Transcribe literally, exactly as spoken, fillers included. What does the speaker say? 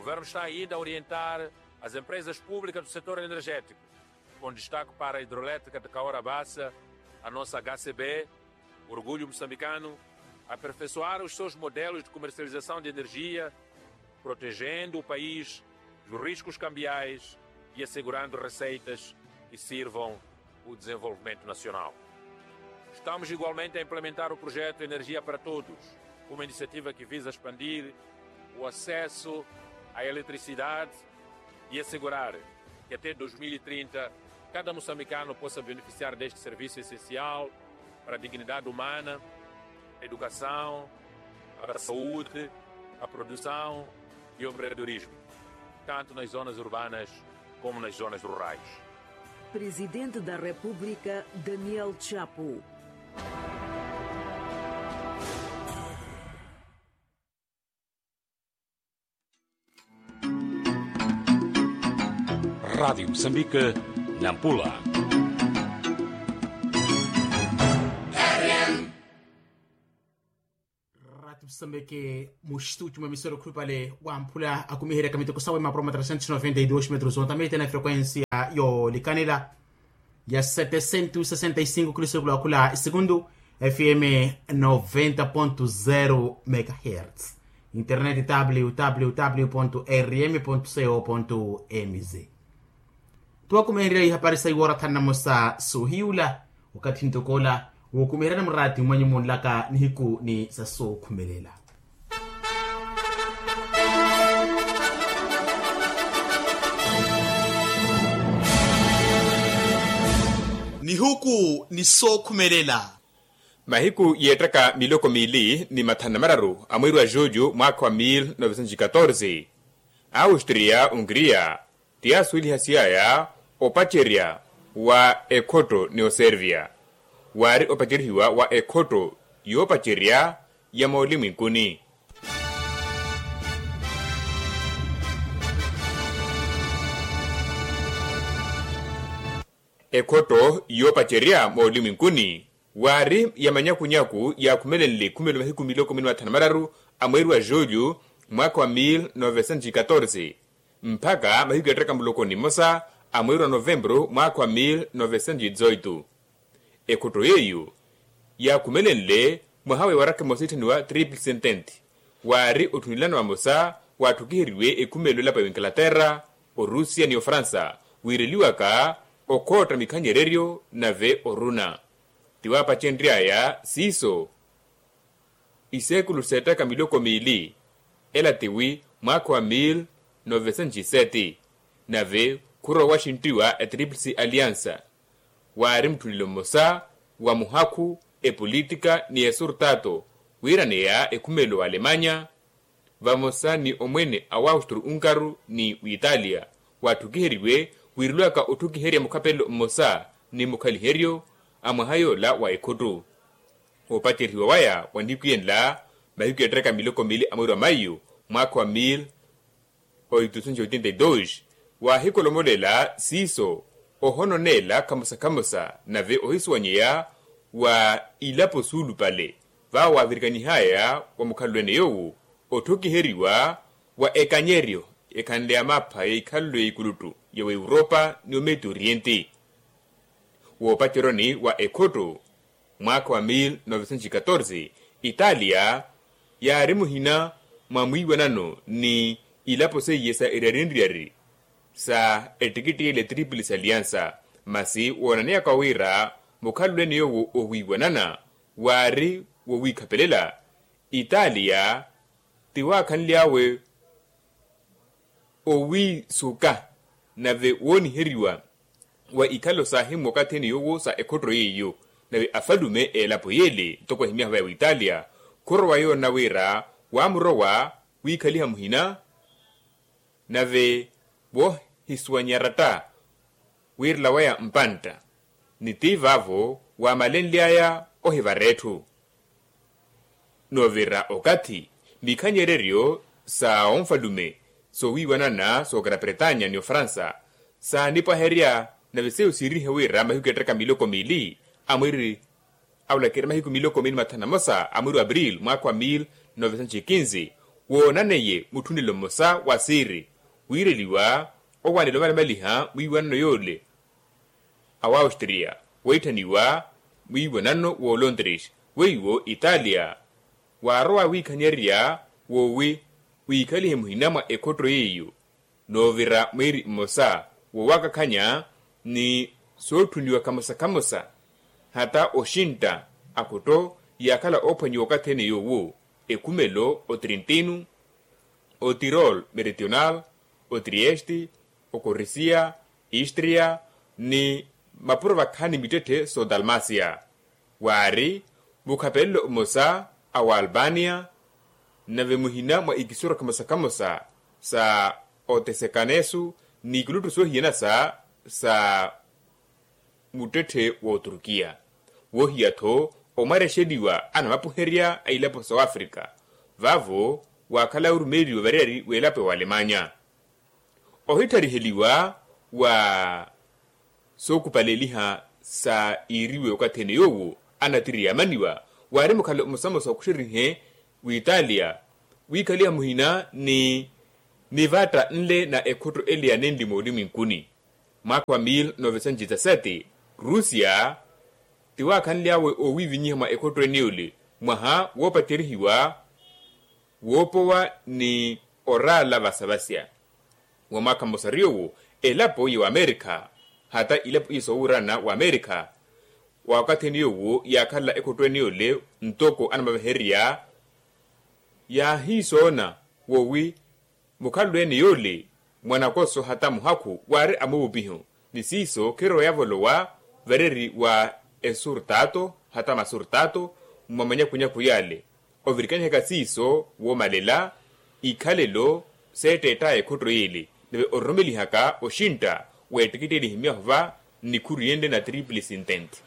O governo está ainda a orientar as empresas públicas do setor energético, com destaque para a hidrelétrica de Cahora Bassa, a nossa H C B, orgulho moçambicano, a aperfeiçoar os seus modelos de comercialização de energia, protegendo o país dos riscos cambiais e assegurando receitas que sirvam o desenvolvimento nacional. Estamos igualmente a implementar o projeto Energia para Todos, uma iniciativa que visa expandir o acesso à eletricidade e assegurar que até dois mil e trinta cada moçambicano possa beneficiar deste serviço essencial para a dignidade humana, a educação, a saúde, a produção e o empreendedorismo, tanto nas zonas urbanas como nas zonas rurais. Presidente da República, Daniel Chapo. Rádio Moçambique, Nampula. Rádio Moçambique, mu estúdio mwa emissora okhupale wa Mpula, akumiheryaka miteko sawe mapuro ma trecentos e noventa e dois metros, ontamete na frequência yoolikanela ya setecentos e sessenta e cinco kilosekulu akhula esegundu, F M noventa ponto zero megahertz, internet www ponto rm ponto co ponto mz. Tuwakumiherya ihapari sa iwoora thanu na mosa soohiyula, wakathi ntoko ola wookumiheryani muraati mwenyu munlaka nihiku ni sa sookhumelela. Nihuku ni sookhumelela. Mahiku yeettaka miloko miili ni mathanu na mararu a mweeri wa julho mwaakha wa mil novecentos e catorze, austria ungria ti yaasuwelihasy'aya opacerya wa ekhotto ni oserviya. Waari opacerihiwa wa ekhotto yoopacerya ya moolimwinkuni. Ekhotto yoopacerya moolimwinkuni waari ya manyakunyaku yaakhumelenle ekhumelo mahiku miloko mini mathanu na mararu a mweeri wa julho mwaakha wa mil novecentos e catorze, mpakha mahiku yaattakha muloko ni mmosa a mweeri wa novempuru mwaakha wa mil novecentos e dezoito. Ekhotto yeiyo yaakhumelenle mwaha wa ewaraka emosa itthaniwa triple sentente, waari otthunilano vamosa waatthukiheriwe ekhumelo elapo ya inglaterra, orusia ni ofransa, wiireliwaka okhootta mikhanyereryo nave oruna. Tiwaapacenry'aya siiso iseekulu seettaka miloko miili, ela tiwi mwaakha wa mil novecentos e sete, nave khurowa waxinttiwa etriplisi aliansa. Waari mutthunelo mmosa wa muhakhu, epolitika ni esurtato wiiraneya ekhumelo wa alemanya vamosa ni omwene a waustro unkaru ni witalia, waatthukiheriwe wiireliwaka otthukiherya mukhapelelo mmosa ni mukhaliheryo a mwaha yoola wa ekhotto. Oopacerihiwa waya wa nihiku yenla mahiku yeettaka miloko miili a mweeri wa maiyu mwaakha wa mil oitusenci oitenta e dois, waahikolomolela siiso ohononeela khamosa khamosa nave ohisuwanyeya wa ilapo suulupale vaawo waavirikanihaya wa mukhalelo ene yoowo otthukiheriwa wa ekanyeryo ekhanle ya mapha ya ikhalelo ya ikuluttu ya wa europa ni ometo oriente. Woopaceroni wa ekhotto mwaakha wa mil novecentos e catorze, italia yaari muhina mwa mwiiwanano ni ilapo seiye sa eryarinryari sa ettikitti ele triple sa aliansa. Masi woonaneyaka wira mukhalelo ene yoowo owiiwanana waari wowiikhapelela. Italia tiwaakhanly'awe owiisuka nave wooniheriwa wa ikhalo saahimu wakathi ene yoowo sa ekhotto yeiyo. Nave afalume a elapo yeele ntoko ehimyaha vaya witalia khurowa yoona wira waamurowa wiikhaliha muhina nave woohisuwanya ratta wiirela waya mpantta ni ti vaavo waamalenly'aya ohivara etthu. Noovira okathi mikhanyereryo sa onfalume soowiiwanana sookera pretanya ni ofransa saanipwaherya nave seiyo siirihe wira mahiku yattaka miloko miili a mwiiri awulakira mahiku miloko miili mathanu na mosa a mwiiri wa april mwaakha wa mil novecentos e quinze woonaneye mutthunelo mmosa wa siiri wiireliwa owanela omalimaliha mwiiwanano yoole. Awaustria weetthaniwa mwiiwanano woolondres weiwo italia waarowa wiikhaniyarya woowi wiikhalihe muhina mwa ekhotto yeiyo noovira mwiiri mmosa wowakakhanya ni sootthuniwa khamosa khamosa hata oxintta akhotto yaakhala oophwanyiwa okathi ene yoowo ekhumelo otrintino otirol meridional otrieste okorisia istria ni mapuro vakhaani mittetthe soodalmasia waari mukhapelelo mmosa awaalbania nave muhina mwa ikisoro khamosa khamosa sa otesekanesu ni ikiluttu soohiyanasa sa muttetthe w'oturkiya woohiya-tho omwarexeliwa anamapuherya a ilapo sa wafrika vaavo waakhala orumeeliwa variyari w'elapo ya walemanya ohittariheliwa wa sookupaleliha sa iiriwe okathi ene yoowo anatiri yaamaniwa waari mukhale omosamosa okuxerihe witalia wiikhaliha muhina ni nivatta nle na ekhotto ele ya nenli moolimwinkuni mwaakha wa mil novecentos dezasete rusia tiwaakhanly'awe oowiivinyiha mwa ekhotto ene yole mwaha woopatyerihiwa woopowa ni oraala vasavasya wa mwaakha mmosa ri yoowo elapo ya wamerikha hata ilapo iye soowuurana wamerikha wakathi ene yoowo yaakhala ekhotto ene yole ntoko anamavehererya yaahiisoona woowi mukhalelo ene yole mwanakoso hata muhakhu waari amuupiho ni siiso khirowa yavolowa vareri wa esurtato hata masurtato mwa manyakunyaku yale ovirikanyihaka siiso woomalela ikhalelo seetteettaya ekhotto yele nave orurumelihaka oxintta w'ettikitteelihi myahu va nnikhuriyenle na triple sintente